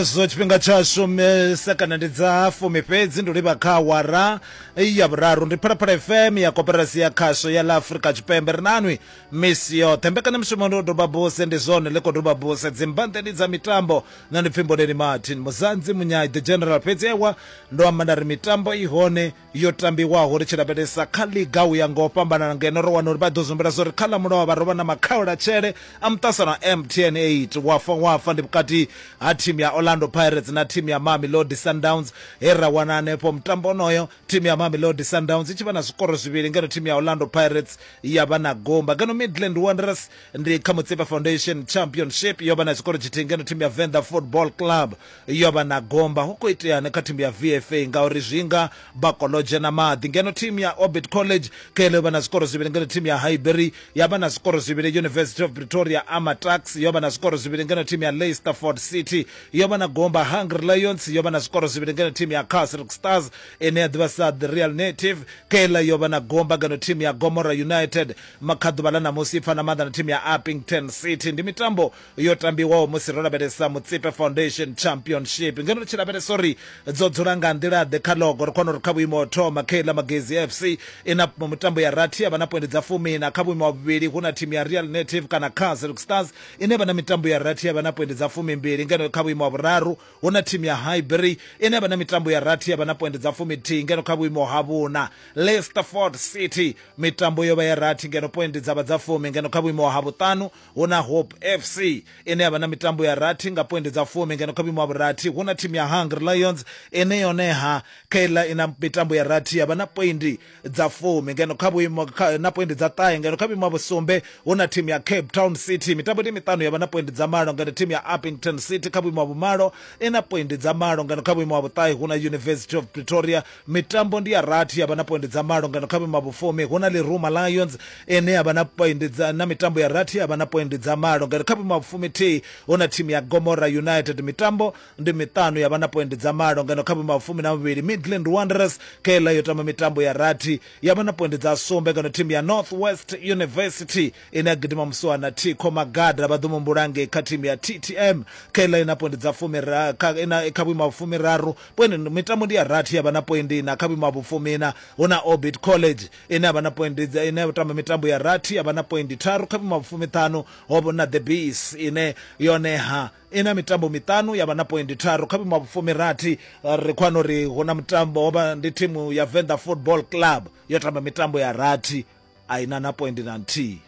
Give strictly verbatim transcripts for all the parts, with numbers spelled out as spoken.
Zwo tshifhinga tshashu sekana ndi dza fumi fhedzi ndo livha kha awara ya vhuraru. Ndi Phalaphala F M ya koperasi ya khasho ya ḽa Afrika Tshipembe. Ri nanwi misi yoṱhe. Mbekanyamushumo ndi u doba buse, ndi zwone ḽi khou doba buse dzimbanḓeni dza mitambo. Nṋe ndi pfi Mboneni Martin Muzanzi Munyai the General. Fhedzi ewa ndo amba nda ri mitambo i hone yo tambiwaho ri tshi lavhelesa kha liga u ya nga u fhambanana, ngeno ro wana uri vha ḓo zumbela zwa uri kha ḽa mulovha ro vha na makhaulatshele a muṱasano M T N eight wafa wafa ndi vhukati ha thimu ya Orlando Pirates na thimu ya Mamelodi Sundowns. He ra wana hanefho mutambo onoyo thimu ya Mamelodi Sundowns i tshi vha na zwikoro zwivhili, ngeno thimu ya Orlando Pirates ya vha na gomba. Ngeno Midland Wanderers ndi kha Mutsipa Foundation Championship yo vha na tshikoro tshithihi, ngeno thimu ya Venda Football Club yo vha na gomba. Hu khou iteani kha thimu ya V F A ngauri zwinga bakolo dzhena maḓi. Ngeno thimu ya Orbit College kele yo vha na zwikoro zwivhili, ngeno thimu ya Highbury ya vha na zwikoro zwivhili. University of Pretoria Amatax yo vha na zwikoro zwivhili, ngeno thimu ya Leicesterford City yo vha na gomba. Hungry Lions yo vha na zwikoro zwivhili, ngeno thimu ya Casric Stars ine ya ḓivha sa The Real Native kela yo vha na gomba, ngeno thimu ya Gomora United makhaḓuvha ḽa ṋamusi i pfana maanḓa na thimu ya Uppington City. Ndi mitambo yo tambiwaho musi ro lavhelesa Mutsipe Foundation Championship. Ngeno ri tshi lavhelesa uri dzo dzula nga nḓila ḓe kha logo, ri khona uri kha vhuimo ho thoma Kela Magezi F C ina mitambo ya rathi ya vha na poindi dza fumi-na. Kha vhuimo ha vhuvhili hu na thimu ya Real Native kana Casric Stars ine vha na mitambo ya rathi ya vha na poindi dza fumi-mbili. Ngeno kha vhuimo ha vhuraru hu na thimu ya Highbury ine vha na mitambo ya rathi ya vha na poindi dza fumi-thihi. Ngeno kha vhuimo ha vhuna Leicesterford City mitambo yo vha ya rathi, ngeno poindi dza vha dza fumi. Ngeno kha vhuimo ha vhuṱanu hu na Hope F C ine ya vha na mitambo ya rathi nga poindi dza fumi. Ngeno kha vhuimo ha vhurathi hu na thimu ya Hungry Lions ine yone ha khaila ina mitambo ya rathi ya vha na poindi dza fumi. Ngeno kha vhuimo na poindi dza ṱahe. Ngeno kha vhuimo ha vhusumbe hu na thimu ya Cape Town City mitambo ndi miṱanu ya vha na poindi dza malo. Ngeno thimu ya Uppington City kha vhuimo ha vhumalo ina poindi dza malo. Ngeno kha vhuimo ha vhuṱahe hu na University of Pretoria mitambo ndi ya rathi ya vha na poindi dza malo. Ngeno kha vhuimo ha vhufumi hu na Leruma Lions ine ya vha na poindi dza na mitambo ya rathi ya vha na poindi dza malo. Ngeno kha vhuimo ha vhufumi-thihi hu na thimu ya Gomora United mitambo ndi miṱanu ya vha na poindi dza malo. Ngeno kha vhuimo ha vhufumi na vhuvhili Midland Wanderers kela yo tamba mitambo ya rathi ya vha na poindi dza sumbe. Ngeno thimu ya North West University ine ya gidima muswana Thikho Magada vha ḓo mumbula ngei kha thimu ya T T M kela ina poindi dza fumi ina kha vhuimo ha vhufumiraru poindi mitambo ndi ya rathi ya vha na poindi na. Kha vhuimo ha vhufumina hu na Orbit College ine ya vha na poindi dza ine ya tamba mitambo ya rathi ya vha na poindi tharu. Kha vhuimo ha vhufumiṱhanu ho vha na The Bees ine yone ha ina mitambo miṱanu ya vha na poindi tharu. Kha vhuimo ha vhufumirathi ri khou wana uri hu na mutambo ho vha ndi thimu ya Venda Football Club yo tamba mitambo ya rathi a ina na poindi na nthihi.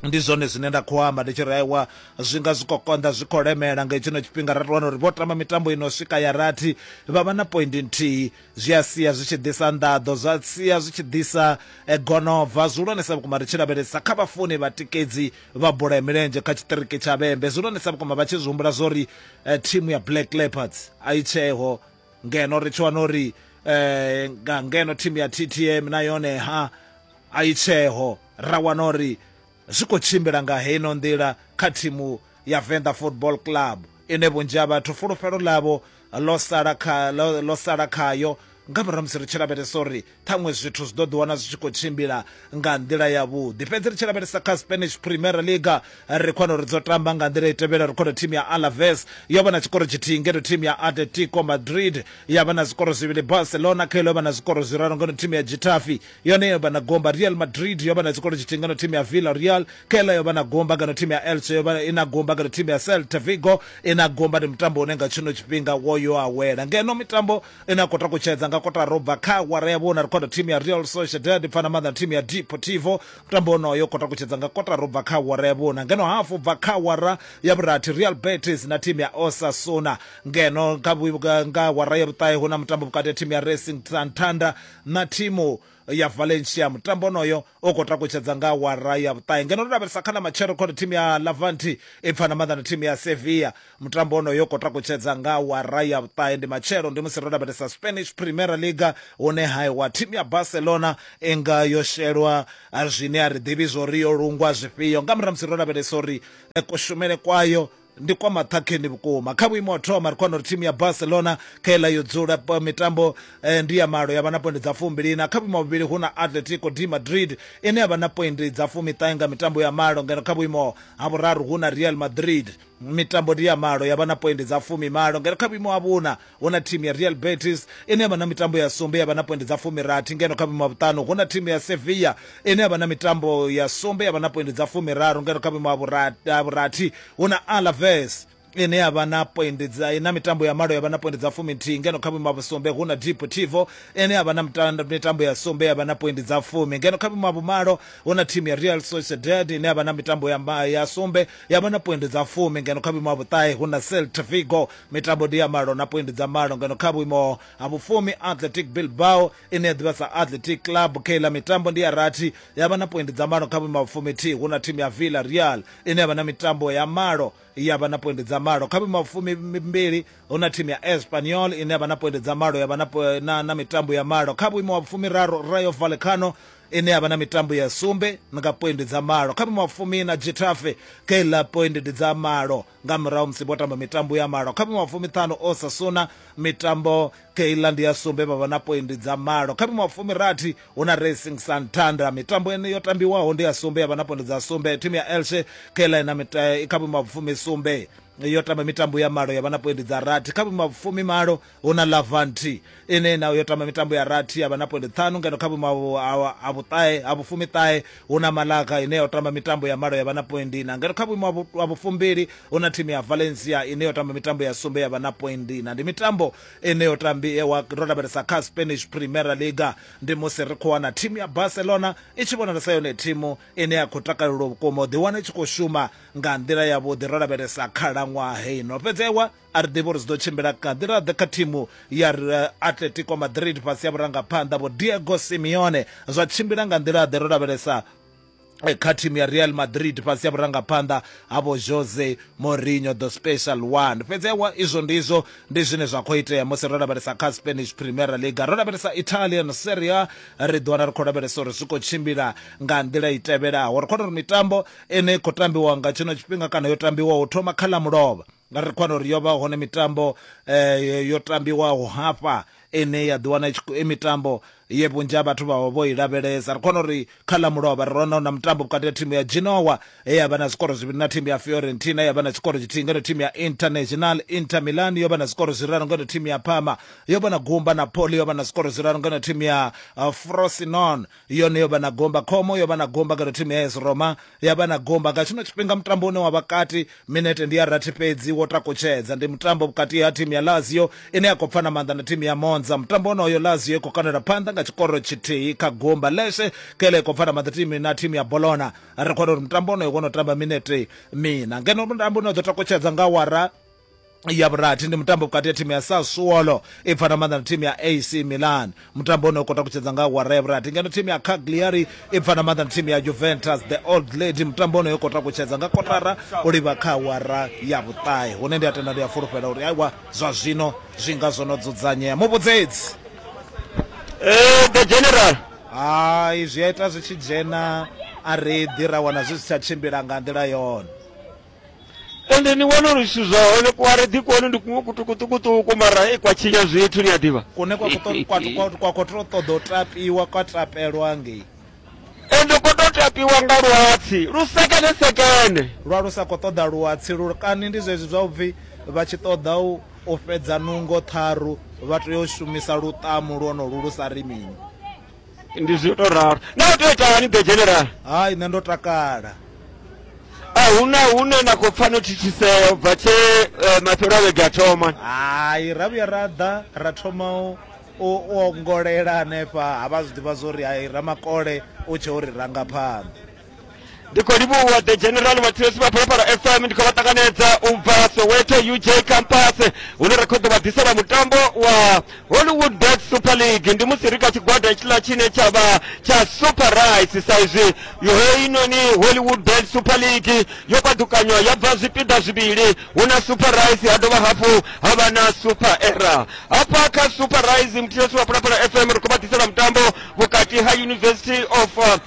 Ndi zwone zwine nda khou amba ndi tshi ri aiwa zwi nga zwi khou konḓa, zwi khou lemela nga tshino tshifhinga. Ra wana uri vho tamba mitambo ino swika ya rathi vha vha na poindi nthihi, zwi a sia zwi tshi ḓisa nḓaḓo, zwa sia zwi tshi ḓisa gonova zwihulwanesa vhukuma ri tshi lavhelesa kha vhafuni vhatikedzi vha bola ya milenzhe kha tshiṱiriki tsha Vhembe. Zwihulwanesa vhukuma vha tshi zwi humbula zwa uri thimu ya Black Leopards a i tsheho, ngeno ri tshi wana uri nga ngeno thimu ya T T M na yone ha a i tsheho. Ra wana uri zwi khou tshimbila nga heino nḓila kha thimu ya Venda Football Club ine vhunzhi ha vhathu fulufhelo ḽavho ḽo sala kha ḽo sala khayo nga murahu musi ri tshi lavhelesa uri ṱhaṅwe zwithu zwi ḓo ḓiwana zwi tshi khou tshimbila nga nḓila yavhuḓi. Fhedzi ri tshi lavhelesa kha Spanish Primera Liga ri khou wana uri dzo tamba nga nḓila i tevhela. Ri khou wana thimu ya Alaves yo vha na tshikoro tshithihi, ngeno thimu ya Atletico Madrid ya vha na zwikoro zwivhili, Barcelona kha yo vha na zwikoro zwiraru, ngeno thimu ya Getafe yone yo vha na gomba, Real Madrid yo vha na tshikoro tshithihi, ngeno thimu ya Villarreal kha yo vha na gomba, ngeno thimu ya Elche yo vha ina gomba, ngeno thimu ya Celta Vigo ina gomba. Ndi mutambo une nga tshino tshifhinga wo yo awela. Ngeno mitambo ina khou takutshedza nga kotara ubva kha awara ya vhuna ri khou thimu ya Real Sociedad pfana maanḓa thimu ya Deportivo, mutambo onoyo khou takutshedza nga kotara ubva kha awara ya vhuna. Ngeno hafu ubva kha awara ya vhurathi Real Betis na thimu ya Osasuna. Ngeno nga awara ya vhuṱahe hu na mutambo vhukati ha thimu ya Racing Santander na thimu ya Valencia, mutambo onoyo u khou takutshedza nga awara ya vhuṱahe. Ngeno ro lavhelesa kha ḽa matshelo khou thimu ya Levante i pfana maanḓa na thimu ya Sevilla, mutambo onoyo u khou takutshedza nga awara ya vhuṱahe. Ndi matshelo, ndi musi ro lavhelesa Spanish Primera Liga hune haiwa thimu ya Barcelona i nga yo shelwa zwine a ri ḓivhi zwori yo lungwa zwifhio nga murahu musi ro lavhelesa uri kushumele kwayo ndi kwa maṱhakheni vhukuma. Kha vhuimo ha thoma ri khou wana uri thimu ya Barcelona kha iḽa yo dzula mitambo ndi ya malo ya vha na poindi dza fumbili na. Kha vhuimo ha vhuvhili hu na Atletico de Madrid ine ya vha na poindi dza fumiṱahe nga mitambo ya malo. Ngeno kha vhuimo ha vhuraru hu na Real Madrid mitambo ndi ya malo ya vha na poindi dza fumi malo. Ngeno kha vhuimo ha vhuna hu na thimu ya Real Betis ine ya vha na mitambo ya sumbe ya vha na poindi dza fumi rathi. Ngeno kha vhuimo ha vhuṱanu hu na thimu ya Sevilla ine ya vha na mitambo ya sumbe ya vha na poindi dza fumi raru. Ngeno kha vhuimo ha vhurathi hu na Alaves ine ya vha na poindi dza na mitambo ya malo ya vha na poindi dza fumi nthihi. Ngeno kha vhuimo ha vhusumbe hu na Deportivo ine ya vha na mitambo ya sumbe ya vha na poindi dza fumi. Ngeno kha vhuimo ha vhumalo hu na thimu ya Real Sociedad ine ya vha na mitambo ya ya sumbe ya vha na poindi dza fumi. Ngeno kha vhuimo ha vhuṱahe hu na Celta Vigo, mitambo ndi ya malo na poindi dza malo. Ngeno kha vhuimo ha vhufumi Athletic Bilbao ine ya ḓivha sa Athletic Club, kheila mitambo ndi ya rathi ya vha na poindi dza malo. Kha vhuimo ha vhufumi thihi hu na thimu ya Villarreal ine ya vha na mitambo ya malo ya vha na poindi dza malo. Kha vhuimo ha vhufumi mbili hu na thimu ya Espanyol ine ya vha na poindi dza malo ya vha na, na, na mitambo ya malo. Kha vhuimo ha vhufumi raru Rayo Vallecano ine ya vha na mitambo ya sumbe nga poindi dza malo. Kha vhuimo ha vhufumi na Getafe kheila poindi dza malo nga murahu musi vho tamba mitambo ya malo. Kha vhuimo ha vhufumi ṱhanu Osasuna mitambo kheila ndi ya sumbe vha vha na poindi dza malo. Kha vhuimo ha vhufumi rathi hu na Racing Santander, mitambo ine yo tambiwaho ndi ya sumbe ya vha na poindi dza sumbe. Thimu ya Elche kheila ina kha vhuimo ha vhufumi sumbe yo tamba mitambo ya malo ya vha na poindi dza rathi. Kha vhuimo ha vhufumi malo hu na Levante ine nayo yo tamba mitambo ya rathi ya vha na poindi ṱhanu. Ngeno kha vhuimo ha vhuṱahe ha vhufumi ṱahe hu na Malaga ine yo tamba mitambo ya malo ya vha na poindi ina. Ngeno kha vhuimo ha vhufumbili hu na thimu ya Valencia ine yo tamba mitambo ya sumbe ya vha na poindi ina. Ndi mitambo ine yo tambiwa ro lavhelesa kha Spanish Primera Liga, ndi musi ri khou wana thimu ya Barcelona i tshi vhonala sa yone thimu ine ya khou takalelwa vhukuma u ḓiwana i tshi khou shuma nga nḓila yavhuḓi ro lavhelesa khalaṅwaha heino. Fhedzewa a ri ḓivhi uri zwi ḓo tshimbila nga nḓila ḓe kha thimu ya Atletico Madrid fhasi ya vhurangaphanḓa vho Diego Simeone, zwa tshimbila nga nḓila ḓe ro lavhelesa kha thimu ya Real Madrid fhasi ya vhurangaphanḓa ha vho Jose Mourinho the special one. Fhedzewa izwo ndizwo ndi zwine zwa khou itea musi ro lavhelesa kha Spanish Primera Liga. Ro lavhelesa Italian Serie A, ri ḓi wana ri khou lavhelesa uri zwi khou tshimbila nga nḓila i tevhelaho. Ri khou uri mitambo ine i khou tambiwa nga tshino tshifhinga kana yo tambiwaho u thoma kha ḽa mulovha, nga ri khou uri yo vha hone mitambo eh, yo tambiwaho hafha ine ya ḓi wana i mitambo ye vhunzhi ha vhathu vha vho i lavhelesa. Ri khona uri kha ḽa mulovha ri wana na mutambo vhukati ha thimu ya Genoa ye ya vha na zwikoro zwivhili na thimu ya Fiorentina ya vha na tshikoro tshithihi, ngeno thimu ya International Inter Milan yo vha na zwikoro zwiraru, ngeno thimu ya Parma yo vha na gumba, Napoli yo vha na zwikoro zwiraru, ngeno thimu ya uh, Frosinone yone yo vha na gumba, Como yo vha na gumba, ngeno thimu ya A S Roma ya vha na gumba. Nga tshino tshifhinga mutambo une wa vha kati minete ndi ya rathi fhedzi wo takutshedza, ndi mutambo vhukati ha thimu ya Lazio ine ya khou pfana maanḓa na thimu ya Monza. Mutambo onoyo Lazio i khou kanela phanḓa nga tshikoro tshithihi kha gumba. Lecce kele khou pfana maanḓa thimu na thimu ya Bologna. Ri khou uri mutambo onoyo wo no tamba minete mina, ngeno mutambo une wa ḓo takutshedza nga awara ya vhurathi ndi mutambo vhukati ha thimu ya Sassuolo i pfana maanḓa na thimu ya A C Milan. Mutambo une u khou takutshedza nga awara ya vhurathi. Ngeno thimu ya Cagliari i pfana maanḓa na thimu ya Juventus the old lady. Mutambo une u khou takutshedza nga kotara u livha kha awara ya vhuṱahe, hune ndi a tenda ndi a fulufhela uri aiwa zwa zwino zwi nga zwo no dzudzanyea. Muvhudzedzi Eh, the general hai zwi a ita zwi tshi dzhena a ri ḓi ra wana zwi si tsha tshimbila nga nḓila yone. Ende ni wana uri zwithu zwa hone kwa ri ḓi kone ndi kuṅwe kutukutukutuku mara i kwa tshinya zwithu ni a ḓivha kune kwa kwa kwa kwa to ṱoḓa u tapiwa kwa tapelwa ngei ende ko to tapiwa nga luhatsi lu sekene sekene lwa lu sa khou ṱoḓa luhatsi lu kani ndi zwezwi zwa upfhi vha tshi ṱoḓa u u fhedza nungo tharu vha tea u shumisa lutamu lwonolu lu sa ri mini. Ndi zwi to ralo. Na u tea u ita hani the general? Hai nṋe ndo takala. A huna hune na khou pfa no thithisea u bva tshe mafhelo a vhege a thoma. Hai ra vhuya ra ḓa ra thoma u u ongolela hanefha ha vha zwi ḓivha zwo ri hai Ramakole u tshe uri ranga phanḓa. Ndi khou livhuwa the general vhathetshelesi vha Phalaphala F M, ndi khou vha ṱanganedza u bva Soweto U J campus hune ra khou ḓo vha ḓisela mutambo wa Hollywood Bet Super League. Ndi musi ri kha tshigwada hetshiḽa tshine tsha vha tsha Super Rice, sa izwi heinoni Hollywood Bet Super League yo paḓukanywa ya bva zwipiḓa zwivhili, hu na Super Rice ha dovha hafhu ha vha na Super Era. Hafha kha Super Rice muthetshelesi wa Phalaphala F M ri khou vha ḓisela mutambo vhukati vhukati ha University of uh,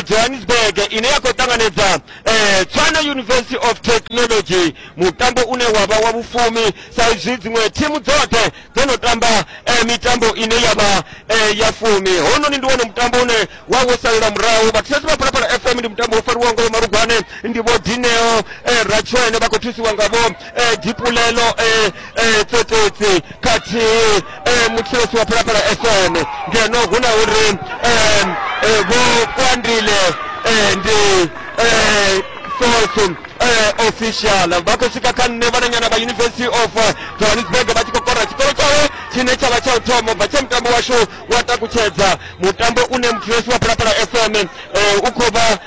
Johannesburg ine ya khou ṱanganedza eh, Tshwane University of Technology, mutambo une wa vha wa vhufumi sa izwi dziṅwe thimu dzoṱhe dzo no tamba eh, mitambo ine ya vha eh, ya fumi. Hononi ndi wone mutambo une wa wo salela murahu. Vhathetshelesi vha Phalaphala F M ndi mutambo wo fariwaho nga Marugwane, ndi vho Dineo eh, Ratshwene vha khou thusiwa nga vho eh, Dipulelo eh, eh, Tsotetsi khathihi eh, muthetshelesi wa Phalaphala F M. Ngeno hu na uri eh, eh, vho Kwandile eh, ndi eh, source eh, official vha khou swika kha nṋe vhananyana vha University of Johannesburg vha tshi khou kora tshikolo tshawe tshine tsha vha tsha u thoma ubva tshe mutambo washu wa takutshedza, mutambo une muthetshelesi wa Phalaphala F M eh, u khou vha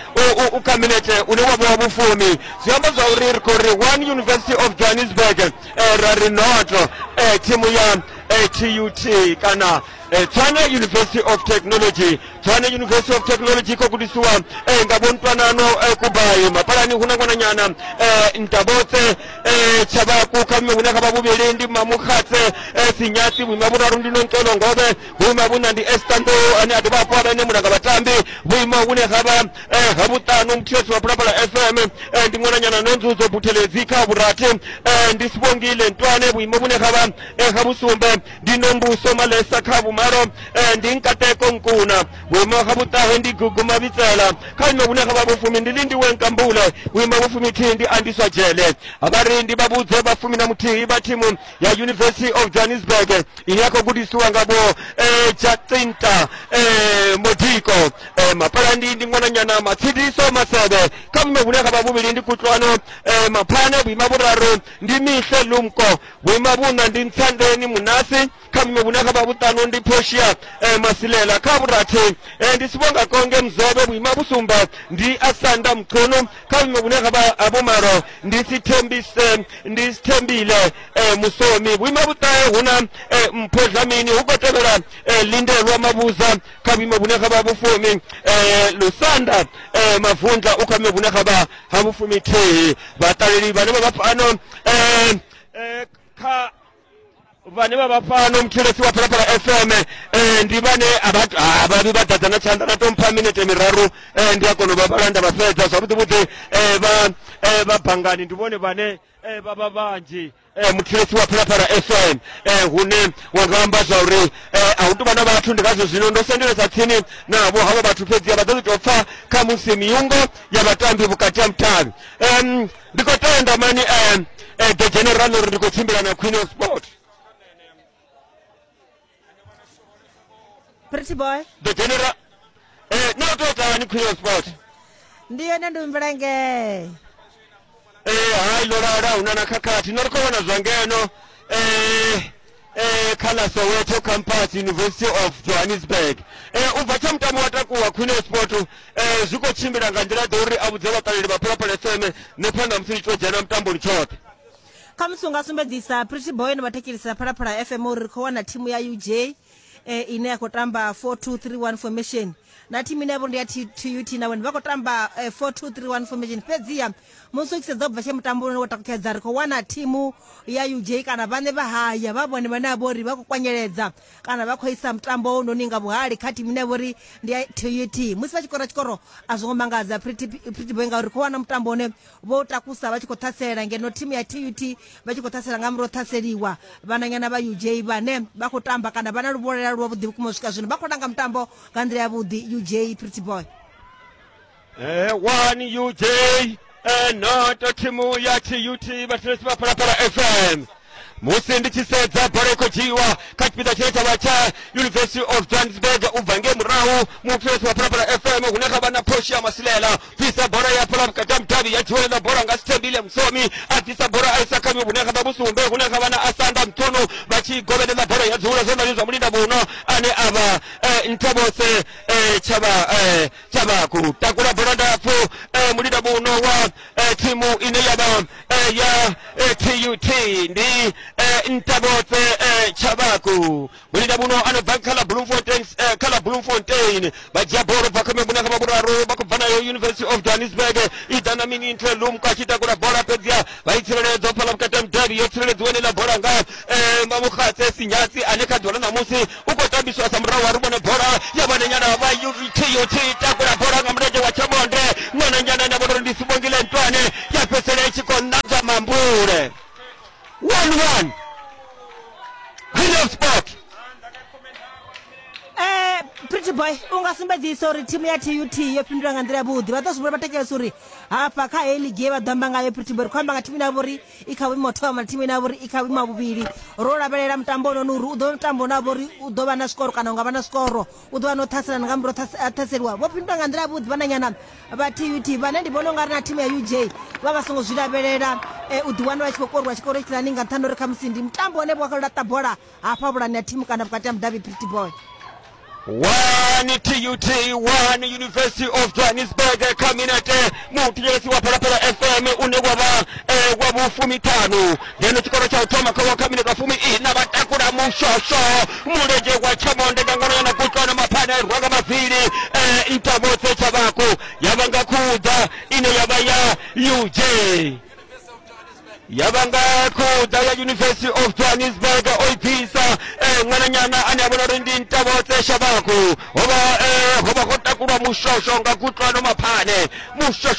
u kha minete une wa vha wa vhufumi. Zwi amba zwa uri ri khou ri one University of Johannesburg eh, ra ri noto eh, thimu ya eh, T U T kana eh, Tshwane University of Technology. Tshwane University of Technology khou gudisiwa eh, nga vho Ntwanano eh, Kubayi. Mapalani hu na ṅwananyana eh, Ntabotse eh, Tshabaku, kha vhuimo vhune kha vha vhuvhili ndi Mamukhatse eh, Sinyatsi, vhuimo vhuraru ndi Nonkelo Ngobe, vhuimo vhuna ndi Esther Ndou ane a dovha hafhu a vha ene mulanga vhatambi, vhuimo vhune ha vha eh, ha vhuṱanu muthetshelesi wa Phalaphala F M eh, ndi ṅwananyana Nonzuzo Buthelezi, kha vhurathi eh, ndi Sibongile Ntwane, vhuimo vhune ha vha eh, ha vhusumbe ndi Nombuso Malesa, kha vhumalo eh, ndi Nkateko Nkuna, vhuimo ha vhuṱahe ndi Gugu Mabitsela, kha vhuimo vhune ha vha vhufumi ndi Lindiwe Nkambule, vhuimo vhufumi thihi ndi Andiswa Jele. Vha ri ndi vha vhudze vha fumi na muthihi vha thimu ya University of Johannesburg ine ya khou gudisiwa nga vho eh, Jacinta eh, Modiko. eh, Mapalandi ndi ṅwananyana Matshidiso Masebe, kha vhuimo vhune ha vha vhuvhili ndi Kutlwano eh, Maphane, vhuimo vhuraru ndi Mihle Lumko, vhuimo vhuṋa ndi Ntsandeni Munasi, kha vhuimo vhune ha vha vhuṱanu ndi Portia eh, Masilela, kha vhurathi eh, ndi Sibonga Konge Mzobe, vhuimo vhusumbe ndi Asanda Mchunu, kha vhuimo vhune ha vha vhumalo ndi Sithembise ndi Sithembile eh, Musomi, vhuimo vhuṱahe huna eh, Mpho Dlamini, hu khou tevhela eh, Lindelwa Mabuza, kha vhuimo vhune ha vha vhufumi eh, Lusanda eh, Mavundla u kha vhuimo vhune ha vha ha vhufumi thihi. Vhaṱaleli vhane vha vha fhano eh, eh, kha vhane vha vha fhano muthetshelesi wa Phalaphala F M eh, ndi vhane a vha vhi vha ḓadza na tshanḓa na to mpha minete miraru eh, ndi a kona u vha vhalanda vha fhedza zwavhuḓi vhuḓi. eh, vha eh, vha bangani ndi vhone vhane eh, vha vha vhanzhi eh, muthetshelesi wa Phalaphala F M eh, hune wa nga amba zwa uri eh, a hu tou vha na vhathu, ndi ngazwo zwino ndo sendelesa tsini navho havha vhathu, fhedzi vha ḓo tou pfa kha musi miungo ya vhatambi vhukati ha mutavhi. um, ndi khou tenda mani eh, eh, the general uri ndi khou tshimbila na Queen of Sport. Pretty boy. The general eh no to tani Queen of Sport. Ndi yone ndi mvelenge. Eh hai lora una na khakhathi no ri khou vhona zwa ngeno eh eh kha Soweto Campus University of Johannesburg. Eh ubva tsha mutambo wa takuwa Queen of Sport eh zwi khou tshimbila nga nḓila ḓo uri a vhudze vhaṱaleli vha Phalaphala F M ne phanḓa musi tshi to dzhena mutamboni tshoṱhe. Kha musi unga sumbedzisa Pretty Boy no vhathetshelesi Phalaphala F M uri ri khou wana thimu ya U J eh, ine ya khou tamba four two three one formation na thimu ine yavho ndi ya T U T na vhone vha khou tamba eh, four two three one formation. Fhedziha musi u tshi sedza ubva tshe mutambo une wo takutshedza ri khou wana thimu ya U J kana vhaṋe vha haya vha vhone vhane vha uri vha khou kwanyeledza kana vha khou isa mutambo unoni nga vhuhali kha thimu ine ya vha uri ndi ya T U T. Musi vha tshi kora tshikoro a zwo ngo mangadza Pretty Pretty Boy ngauri khou wana mutambo une vho takusa vha tshi khou ṱhasela, ngeno thimu ya T U T vha tshi khou ṱhasela nga murahu ṱhaseliwa vhananyana vha U J vhane vha khou tamba kana vha na luvholela lwa vhuḓi vhukuma u swika zwino vha khou langa mutambo nga nḓila ya vhuḓi. U J Pretty Boy. Eh, one U J eh, noto thimu ya T U T vhathetshelesi vha Phalaphala F M. Musi ndi tshi sedza bola i khou dzhiiwa kha tshipiḓa tshine tsha vha tsha University of Johannesburg u bva ngei murahu muthetshelesi wa Phalaphala F M hune kha vha na Portia Masilela, bvisa bola ya fhala vhukati ha mudavhi ya dzhiwa bola nga Sithembile Msomi, a bvisa bola a isa kha hune kha vha vhusumbe hune kha vha na Asanda Mthunu vha tshi govhelela bola ya dzula zwanḓani zwa mulinda vhuno ane a vha eh, Nthabose eh, tshavha eh, Tshabaku. Takula bola ndapfu eh, mulinda vhuno wa eh, thimu ine ya vha eh, ya eh, T U T ndi eh, Ntabotse eh, Tshabaku. Mulinda vhuno ano bva kha ḽa Bloemfontein eh, kha ḽa Bloemfontein vha dzhia bola bva kha vhune kha vha vhuraru vha khou bva nayo University of Johannesburg i ḓa na Minintle Lumko a tshi takula bola fhedziha vha i tsireledza fhaḽa vhukati ha mudavhi yo tsireledziwa ḽa bola nga eh, Mamukhatse Sinyatsi ane kha ḓuvha ḽa ṋamusi u khou tambiswa sa murahu ri vhone bola ya vhananyana vha T U T takula bola nga mulenzhe wa tshamonde ṅwananyana na vhona uri ndi Sibongile Ntwane ya fhedzisela i tshi khou ṋanga mambule. One one Queen of Sport. Eh, Pretty Boy u nga sumbedzisa uri thimu ya T U T yo fhindula nga nḓila yavhuḓi. Vha ḓo zwi vhona vhathetshelesi uri hafha kha heyi ligi ye vha ḓo amba ngayo Pretty Boy, ri khou amba nga thimu ine ya vha uri i kha vhuimo thoma na thimu ine ya vha uri i kha vhuimo ha vhuvhili. Ro lavhelela mutambo ononi uri u ḓo vha mutambo une wa vha uri u ḓo vha na zwikoro kana u nga vha na zwikoro, u ḓo vha na u ṱhaselana nga murahu ha ṱhaseliwa. Vho fhindula nga nḓila yavhuḓi vhananyana vha T U T, vhane ndi vhona ungari na thimu ya U J vha vha songo zwi lavhelela u ḓiwana vha tshi khou koriwa tshikoro tshilani nga nṱhani uri khamusi ndi mutambo une vho laṱa bola hafha vhulani ya thimu kana vhukati ha mudavhi. Pretty Boy. One T U T, one University of Johannesburg Cabinet muthetshelesi wa Phalaphala F M une wa vha wa vhufumiṱhanu ngeno tshikoro tsha u thoma kha wa Cabinet wa fumi ina vha takula mushosho mulenzhe wa tshamonde nga ngono na kutlwana maphane rwa nga mavili Ntabotse Tshavhaku ya vha nga khuḓa ine ya vha ya U J ya vha nga khuḓa ya University of Johannesburg o i bvisa ṅwananyana ane a vhona uri ndi Ntabotse Tshavhaku. Ho vha ho vha ho takulwa mushosho nga kutlwano maphane mushosho